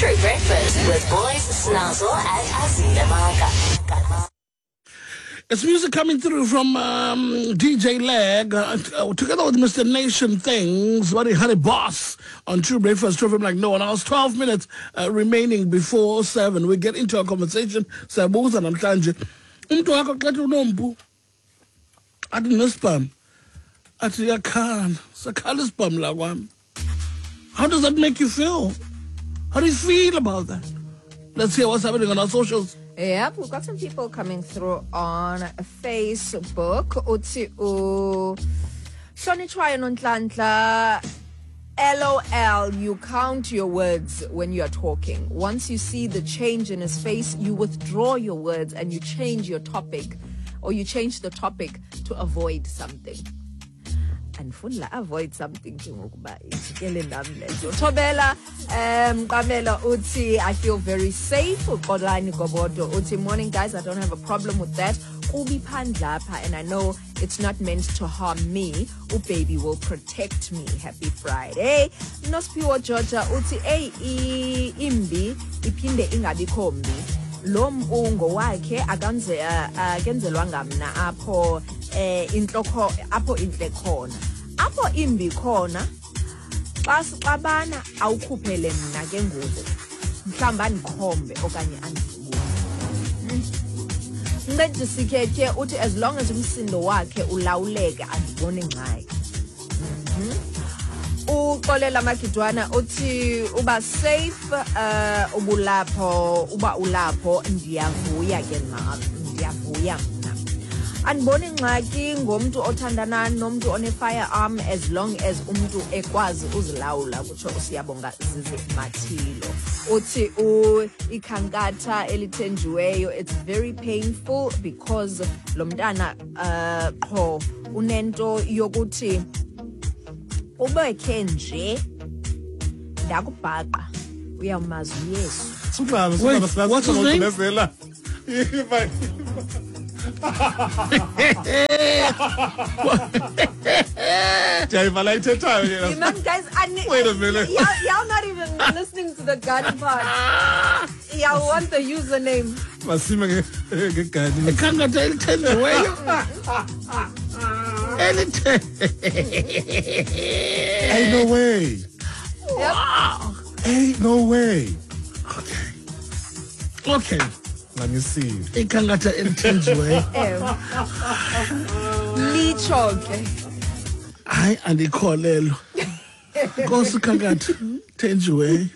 True Breakfast with Boys Snazzle and Azile Maka. It's music coming through from DJ Lag together with Mr. Nation Things, Buddy Honey Boss on True Breakfast, True FM like no one else. 12 minutes remaining before 7. We get into our conversation. Siyabuza namhlanje. Umntu wakho xa ethi unompu athi nesibham athi uyakhala, sakhala isibham la kwam. How does that make you feel? How do you feel about that? Let's hear what's happening on our socials. Yep, we've got some people coming through on Facebook. Uthi u Hlonitshwayo Nonhlanhla, LOL, you count your words when you are talking. Once you see the change in his face, you withdraw your words and you change your topic, or you change the topic to avoid something. Andifuni la avoid something ke ngokuba ijikele nam le nto. Thobela Qamela uthi I feel very safe. Uxolani Gobodo uthi morning guys, I don't have a problem with that. Kubi phandle apha and I know it's not meant to harm me. Ubaby will protect me. Happy Friday. Nosphiwo Georgia uthi ey imbi iphinde ingabikho mbi. Lo mpu ngowakhe akanze akenzelwanga mna apho intloko apho intle khona. Apho imbi khona xa sixabana awukhuphele mna ke ngoku. Mhlawumbi andikhombe okanye andidubule. Mncedisi Khetye uthi as long as umsindo wakhe ulawuleka andiboni ngxaki. Uxolela Magidwana uthi uba safe ubulapho uba ulapho ndiyavuya ke nam, ndiyavuya mna. Andiboni ngxaki ngomntu othandana nomntu one-firearm as long as umntu ekwazi uzilawula, kutsho uSiyabonga Zizi Mathilo. Uthi ikhankatha elithenjiweyo, it's very painful because lo mntana qho unento yokuthi ubekhe nje ndakubhaqa uyawumazi uYesu. Suqala, Wait, suqala, what's his name? Singagqibezela. Ndiyayiva la ithethayo yena. You man, guys, Wait a minute. Y'all not even listening to the gun part. Y'all want the username. Masime ngegani. Ikhankatha elithenjiweyo. Elithe. Ain't no way. Yep. Ain't no way. Okay. Okay. Let me see. Ikhankatha elithenjiweyo. Ewe. Litsho ke. Hayi andikholelwa. Nkosi khankatha thenjiweyo.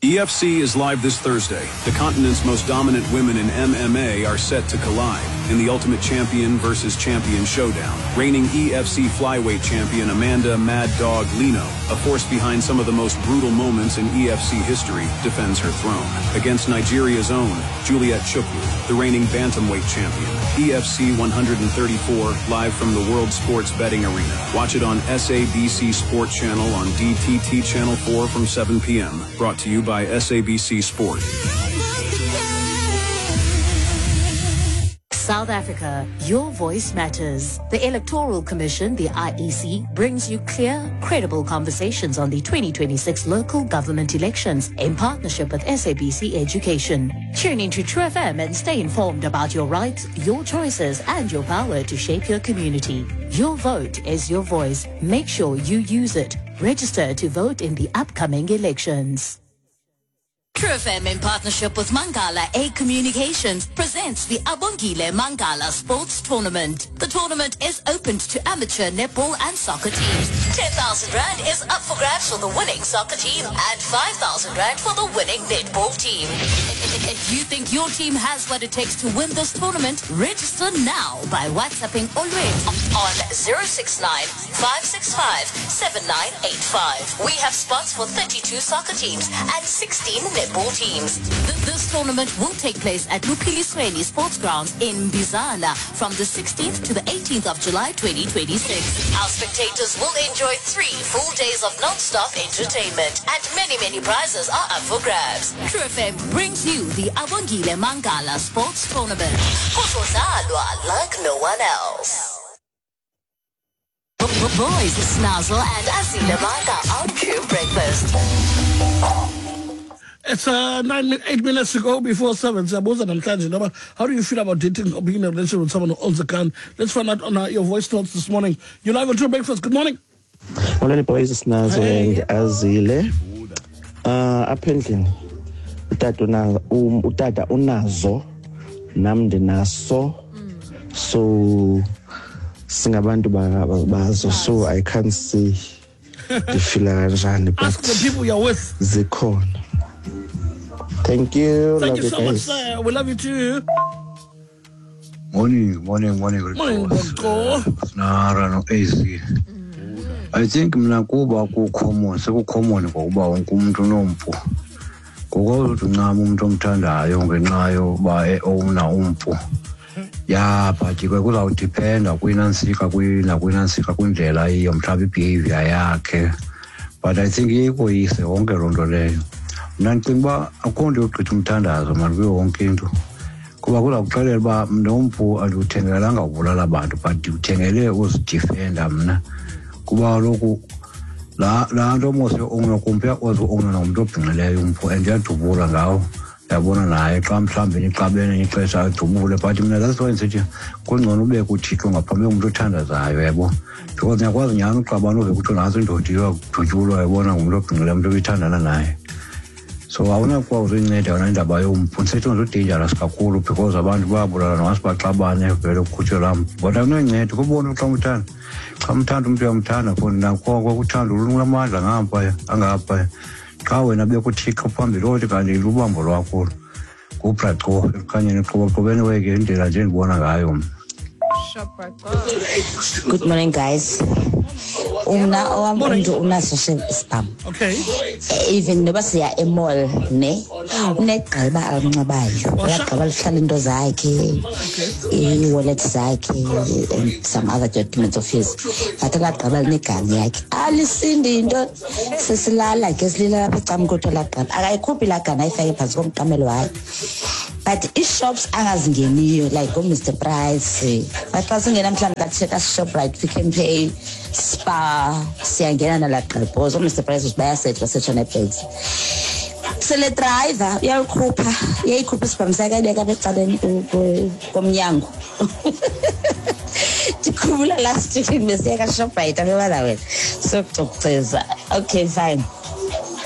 EFC is live this Thursday. The continent's most dominant women in MMA are set to collide in the Ultimate Champion versus Champion showdown. Reigning EFC flyweight champion Amanda Mad Dog Lino, a force behind some of the most brutal moments in EFC history, defends her throne against Nigeria's own Juliet Chukwu, the reigning bantamweight champion. EFC 134, live from the World Sports Betting Arena. Watch it on SABC Sport Channel on DTT Channel 4 from 7 p.m. Brought to you by SABC Sport. South Africa, your voice matters. The Electoral Commission, the IEC, brings you clear, credible conversations on the 2026 local government elections in partnership with SABC Education. Tune into True FM and stay informed about your rights, your choices, and your power to shape your community. Your vote is your voice. Make sure you use it. Register to vote in the upcoming elections. True FM in partnership with Mangala A Communications presents the Abongile Mangala Sports Tournament. The tournament is open to amateur netball and soccer teams. 10,000 Rand is up for grabs for the winning soccer team and 5,000 Rand for the winning netball team. If you think your team has what it takes to win this tournament, register now by WhatsApping Olwethu on 069 565 7985. We have spots for 32 soccer teams and 16 netball teams. This tournament will take place at Lupilisweni Sports Grounds in Bizana from the 16th to the 18th of July 2026. Our spectators will enjoy 3 full days of non-stop entertainment and many, many prizes are up for grabs. True FM brings you the Abongile Mangala Sports Tournament. Kuzodlalwa like no one else. Boys, Snazzle and Azile Maka on True Breakfast. It's 8 minutes to go before 7. Siyabuza namhlanje noma how do you feel about dating or being in a relationship with someone who owns a gun? Let's find out on your voice notes this morning. You're live on True Breakfast. Good morning. Molweni boys, Sinazo and Azile. Apha endlini utata unazo, nam ndinaso. So singabantu bazo, so I can't see ndifila kanjani, but ask the people you're with. Zikhona. Thank you. Thank love you so guys. Much, sir. We love you too. Morning, morning, morning. Morning, Bonko. Nara no AC. I think mna kuba kucommon, sekucommon ngokuba wonke umuntu unompu. Ngokuthi uncama umuntu omthandayo ngenxa yoba eowna umpu. Ya, but ke kuzawudependa kwinansika kwinansika kwindlela iyo mhlawumbi behavior yakhe. But I think iyikoyise wonke loo nto leyo. Mna ndicinga uba akukho nto yogqitha umthandazo mani kuyo wonke into. Kuba kuzakuxelela uba nompu andiwuthengelanga ubulala abantu, but ndiwuthengele uzidifenda mna. Kuba kaloku laa nto mos yo-owna kumpu uyakwazi u-owna nomntu obhinqileyo umpu and uyadubula ngawo. Uyabona naye xa mhlawumbi nixabene ixesha adubule, but mna that's why ndisithi kungcono ubeke uThixo ngaphambi komntu othandazayo, uyabo. Because ndiyakwazi nyhani uxabana uve kuthiwa nantsi indoda iyakudutyulwa, uyabona, ngumntu obhinqileyo, umntu obithandana naye. So awunakwazi uyinceda yona indaba yompu. Ndisithi udangerous kakhulu because abantu bayabulala nongathi baxabane vele kukhutshwe laa mpu. But awunoyinceda kubona xa umthanda. Xa umthanda umntu uyamthanda for nakoko uthando lunamandla ngaphaya angaphaya. Xa wena bekuThixo phambili othi kanti lubambo lwakho ngubraco ekukhanyeni qoboqobeni weke indlela nje endibona ngayo mna. Good morning, guys. Umna owam umntu unaso isibhamu. Okay. Even noba siya emall ne, unegqiba alinxibayo. Uyagqiba lihlala into zakhe, i-wallet zakhe and some other documents of his. But elagqiba linegani yakhe. Alisindi into, sesilala ke silila lapha ecam kodwa lagqiba. Akayikhuphi laa gani ayifake phantsi komqamelo wayo. But ii-shops angazingeniyo like ooMr Price. But xa singena mhlawumbi kaTsheka Shoprite, Pick n Pay, Spar, siyangena nalaa gqibhozo. OoMr Price bayasetshwa, basetshwa nee-bags. Sele driver uyayikhupha, uyayikhupha isibhamu sakhe ayibeka apha ecaleni komnyango. Ndikhumbula last week besiya kaShoprite apha wena sokucukuceza. Okay, fine.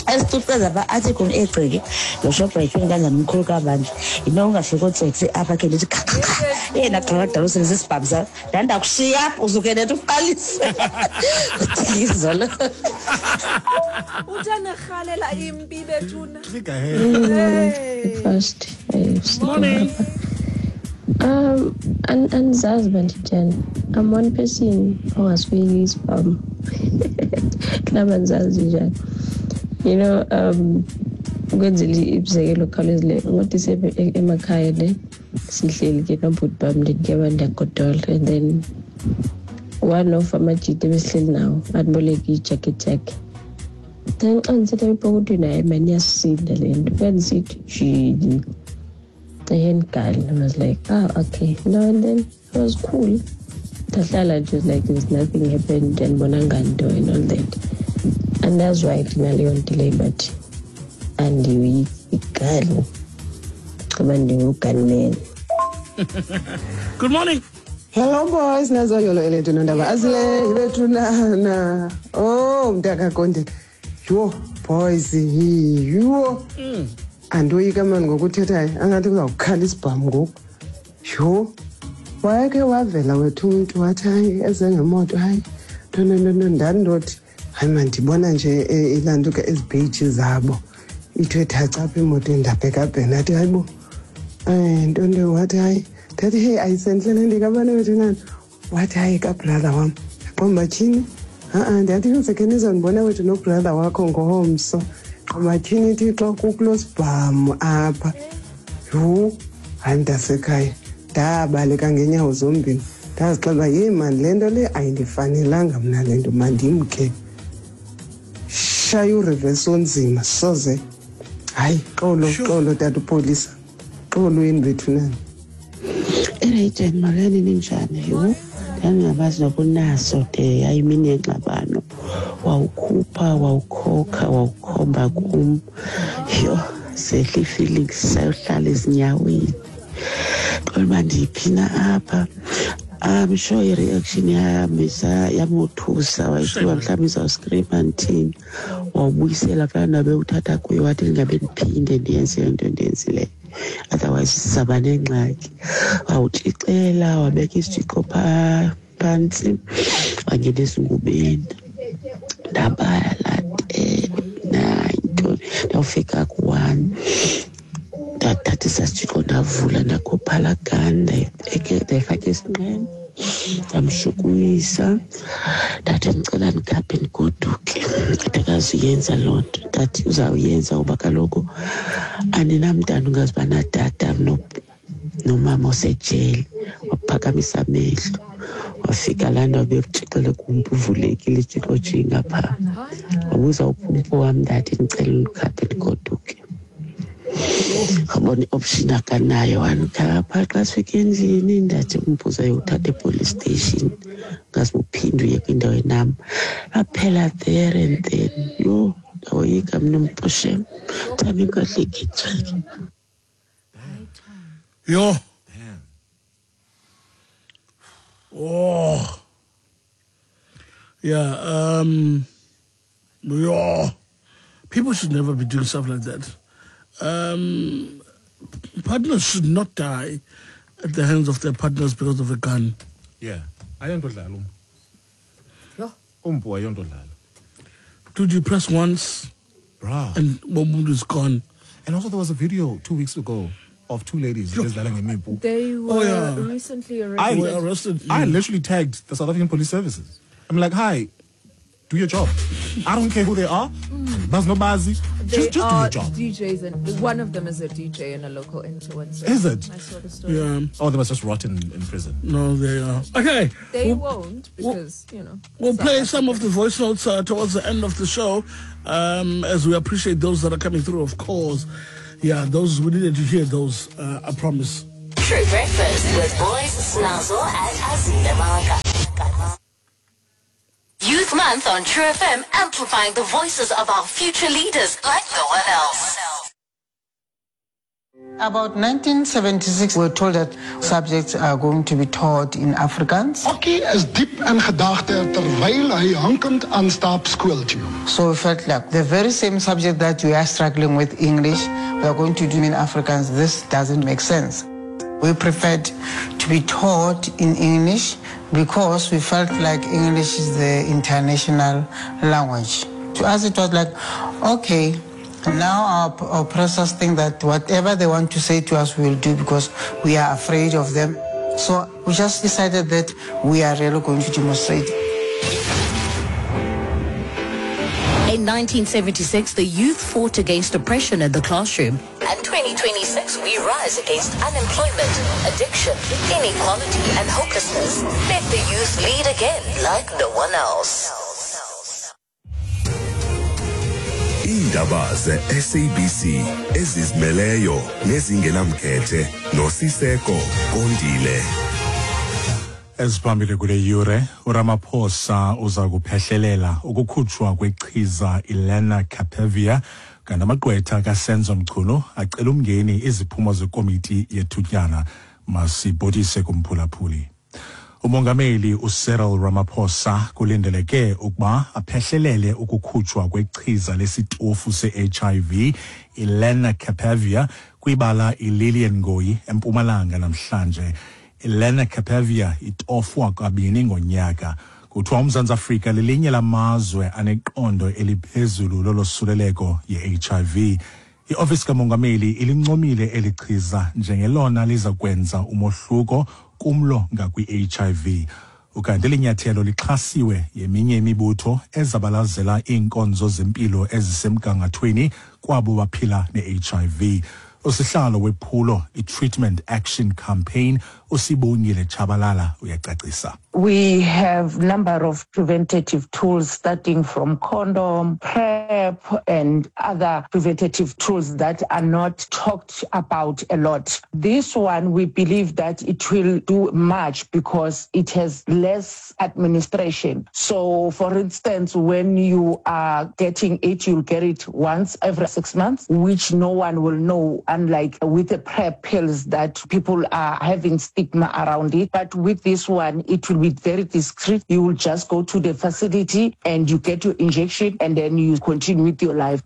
Esicukuceza pha athi kum egciki lo Shoprite kanjani umkhulu kabantu. Yinto ungafika ootsotsi apha ke ndithi kha kha kha. Yena gqada usebenzisa isibhamu sakho. Ndandakushiya apha uzuke netha uqalise. Uthizolo. Uthanirhalela impi bethuna. First, morning. Andizazi uba nditheni. I'm one person ongasifiki isibhamu. Naba ndizazi njani. You know, ukwenzela imizekelo ekhawulezileyo, ngothi emakhaya ne sihleli ke nobhuti bam ndike ndiyagodola, and then one of amajita ebesihleli nawo andiboleke ijacket yakhe. Then xa ndisitha epokothweni, hayi mani iyasinda le nto. Kwandisithi jini, the handgun. I was like, ah, okay. No, and then it was cool. Ndahlala nje like there's nothing happened andibonanga nto and all that. And that's why ndinaleyo nto leyo, but andiyigali kuba ndingugunman. Good morning. Hello boys, nazo yolo elethu nondaba azile bethu na. Oh, mntaka Konde. Yho, boys, yho. Andoyika mani ngokuthethayo, angathi kuzawukhala isibhamu ngoku. Yho. Wayeke wavela wethu umntu wathi hayi eze ngemoto hayi. No ndandothi hayi man ndibona nje ilantuka ezibheji zabo. Ithe thaca apha emotweni ndabhekabheka ndathi hayibo. Ntonto wathi hayi. Ndathi hey ayisendlela ndikabani wethu nani. Wathi hayi kabrother wam. Qomba tyhini. Ndathi yonke nizondibona wethu nobrother wakho ngomso. Qomba tyhini Thixo kukulo sibhamu apha. Yhu, hayi mntasekhaya. Ndabaleka ngeenyawo zombini. Ndazixela yhe mani le nto le ayindifanelanga mna le nto mandimke. Shaya ureverse onzima soze. Hayi xolo xolo tata upolisa. Xolweni bethu nani. Erayitsheni molweni ninjani? Yho, ndandingabazi nokunaso de yayimini yengxabano. Wawukhupha, wawukhokha, wawukhomba kum. Yho, Sehla ii-feelings sayohlala ezinyaweni. Qonda uba ndiphi na apha. I'm sure i-reaction yam yamothusa, wayicinga mhlawumbi izawuskrima ndithini. Wawubuyisela kulaa ndawo bewuthatha kuyo, wathi ndingabe ndiphinde ndiyenze le nto ndiyenzileyo, otherwise sizawuba nengxaki. Wawutshixela, wabeka isitshixo phaa phantsi, wangena ezingubeni. Ndabala 10, 9, ndawufika ku-1. Ndathatha isasitshixo ndavula, ndakhupha laa gun, ndayifaka esinqeni, ndamshukumisa. Ndathi ndicela ndikhaphe ndigoduke. Ndathi akazuyenza loo nto. Ndathi uzawuyenza kuba kaloku andinamntana ungazuba natata nomama osejele. Waphakamisa amehlo, wafika laa ndawo bekutshixele kumpu, uvulekile itshixo jinga phaa. Wabuza uphumpu wam, ndathi ndicela undikhaphe ndigoduke. Wabona i-option akanayo, wandikhapha. Xa sifika endlini ndathi umbuzo ayowuthatha epolice station, ngaze uphinde uye kwindawo enam. Aphela there and then. Yho, ndawoyika mna umpu shem. Thami inkohlekithwe. Yho. Oh. Yeah, yo. People should never be doing stuff like that. Partners should not die at the hands of their partners because of a gun. Yeah. Ayonto dlala umpu. Yho. Umpu ayonto dlala. Dude, you press once, Bruh. and one is gone. And also there was a video 2 weeks ago of two ladies ezidlala ngemimpu. They were Oh, yeah. recently arrested. Were arrested. I literally tagged the South African Police Services. I'm like, hi, do your job. I don't care who they are. There's no bazi. They Just do are your job. DJs, and one of them is a DJ and a local influencer. Is it? I saw the story. Yeah. Oh, they must just rot in prison. No, they are. Okay. They won't because, you know. We'll South play some Africa. of the voice notes towards the end of the show, as we appreciate those that are coming through, of course. Yeah, those, we needed to hear those, I promise. True Breakfast with Boys, Snazzle and Azile Maka. Youth Month on True FM, amplifying the voices of our future leaders like no one else. About 1976, we were told that subjects are going to be taught in Afrikaans. Okkie is diep in gedagte terwyl hy hankend aanstap skool toe. So we felt like the very same subject that we are struggling with, English, we are going to do in Afrikaans. This doesn't make sense. We preferred to be taught in English because we felt like English is the international language. To us, it was like, okay, now our oppressors think that whatever they want to say to us, we will do because we are afraid of them. So we just decided that we are really going to demonstrate. In 1976, the youth fought against oppression in the classroom. And 2026, we rise against unemployment, addiction, inequality, and hopelessness. Let the youth lead again like no one else. Iindaba ze-SABC ezizimeleyo nezingenamkhethe noSiseko Kondile. Eziphambili kule yure, uRamaphosa uza kuphehlelela ukukhutshwa kwechiza iLenacapavir, kanti amagqwetha kaSenzo Mchunu acela umngeni iziphumo zekomiti yethutyana. Masibhodise kumphulaphuli. Umongameli uCyril Ramaphosa kulindeleke ukuba aphehlelele ukukhutshwa kwechiza lesitofu se-HIV iLenacapavir kwibala iLillian Ngoyi eMpumalanga namhlanje. iLenacapavir itofwa kabini ngonyaka. Kuthiwa uMzantsi Afrika lelinye lamazwe aneqondo eliphezulu lolosuleleko ye-HIV. Iofisi kamongameli ilincomile eli chiza njengelona liza kwenza umohluko kumlo ngakwi-HIV. Ukanti eli nyathelo lixhasiwe yeminye imibutho ezabalazela iinkonzo zempilo ezisemgangathweni kwabo baphila ne-HIV. Usihlalo wephulo i-Treatment Action Campaign Usibongile Tshabalala uyacacisa. We have number of preventative tools starting from condom, PrEP and other preventative tools that are not talked about a lot. This one, we believe that it will do much because it has less administration. So, for instance, when you are getting it, you'll get it once every 6 months, which no one will know, unlike with the PrEP pills that people are having stigma around it. But with this one, it will be very discreet. You will just go to the facility and you get your injection and then you continue with your life.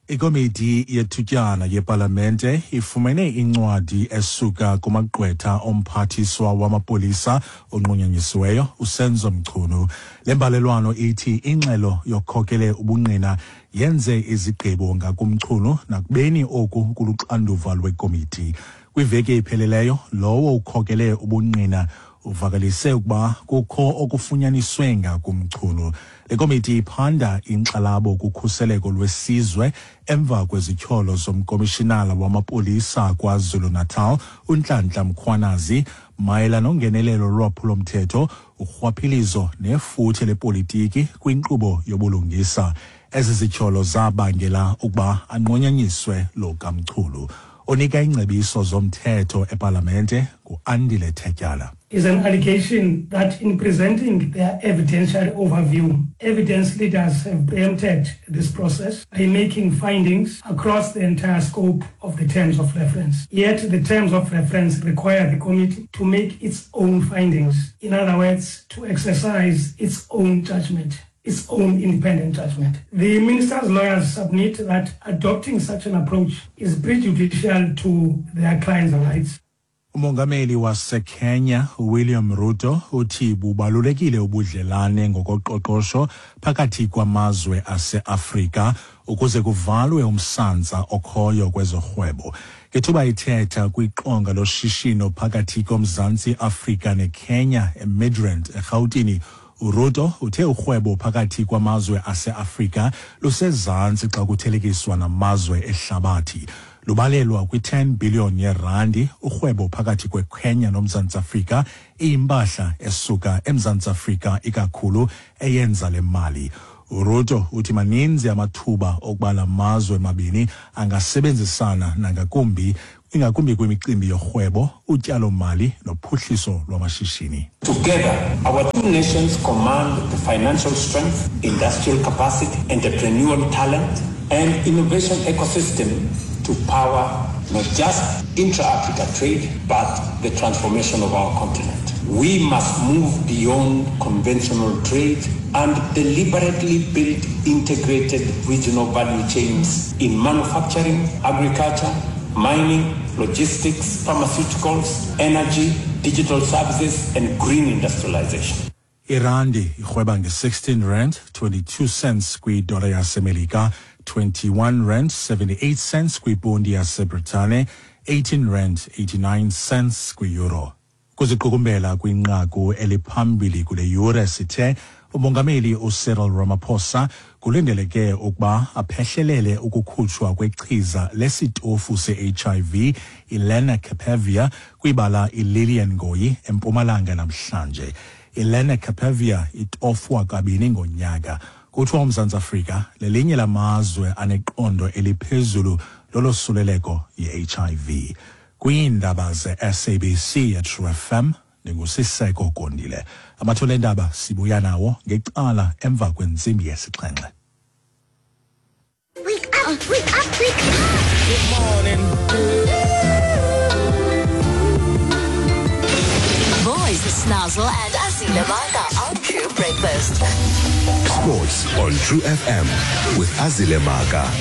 Ikomiti yethutyana yepalamente ifumene incwadi esuka kumagqwetha omphathiswa wamapolisa onqunyanyisiweyo uSenzo Mchunu. Le mbalelwano ithi ingxelo yokhokele ubungqina yenze izigqibo ngakuMchunu nakubeni oku kuluxanduva lwekomiti. Kwiveki epheleleyo lowo ukhokele ubungqina uvakalise ukuba kukho okufunyaniswe ngakuMchunu. Le komiti iphanda inkxalabo kukhuseleko lwesizwe emva kwezityholo zomkomishinala wamapolisa KwaZulu-Natal uNhlanhla Mkhwanazi mayela nongenelelo lwaphulo-mthetho, urhwaphilizo nefuthe lepolitiki kwinkqubo yobulungisa. Ezi zityholo zabangela ukuba anqunyanyiswe lo kaMchunu. Onika ingcebiso zomthetho epalamente nguAndile Tetyala. Is an allegation that in presenting their evidentiary overview, evidence leaders have preempted this process by making findings across the entire scope of the terms of reference. Yet the terms of reference require the committee to make its own findings. In other words, to exercise its own judgment, its own independent judgment. The minister's lawyers submit that adopting such an approach is prejudicial to their clients' rights. Umongameli waseKenya William Ruto uthi bubalulekile ubudlelane ngokoqoqosho phakathi kwamazwe aseAfrika ukuze kuvalwe umsantsa okhoyo kwezorhwebo. Ngethuba ithetha kwiqonga loshishino phakathi koMzantsi Afrika neKenya eMidrand eRhawutini, uRuto uthe urhwebo phakathi kwamazwe aseAfrika lusezantsi xa kuthelekiswa namazwe ehlabathi. Lubalelwa kwi-10 billion yerandi urhwebo phakathi kweKenya noMzantsi Afrika, iyimpahla esuka eMzantsi Afrika ikakhulu eyenza le mali. uRuto uthi maninzi amathuba okuba la mazwe mabini angasebenzisana nangakumbi, ingakumbi kwimicimbi yorhwebo, utyalomali nophuhliso lwamashishini. Together, our two nations command the financial strength, industrial capacity, entrepreneurial talent, and innovation ecosystem to power not just intra-Africa trade, but the transformation of our continent. We must move beyond conventional trade and deliberately build integrated regional value chains in manufacturing, agriculture, mining, logistics, pharmaceuticals, energy, digital services, and green industrialization. Irandi irhweba nge-16 rand 22 cents kwidola yaseMelika, 21 rand 78 cents kwiponti yaseBritane, 18 rand 89 cents kwi-euro. Kuziqukumbela kwinqaku eliphambili kule yure sithe umongameli uCyril Ramaphosa kulindeleke ukuba aphehlelele ukukhutshwa kwechiza lesitofu se-HIV iLenacapavir kwibala iLillian Ngoyi eMpumalanga namhlanje. ILenacapavir itofwa kabini ngonyaka. Kuthiwa uMzantsi Afrika lelinye lamazwe aneqondo eliphezulu lolosuleleko ye-HIV. Kwiindaba ze-SABC yeTrue FM ndinguSiseko Gondile. Amathole endaba sibuya nawo ngecala emva kwentsimbi yesixhenxe. Wake up, wake up, wake up. Good morning. Boys, Snazzle and Azile Maka on True Breakfast. Sports on True FM with Azile Maka.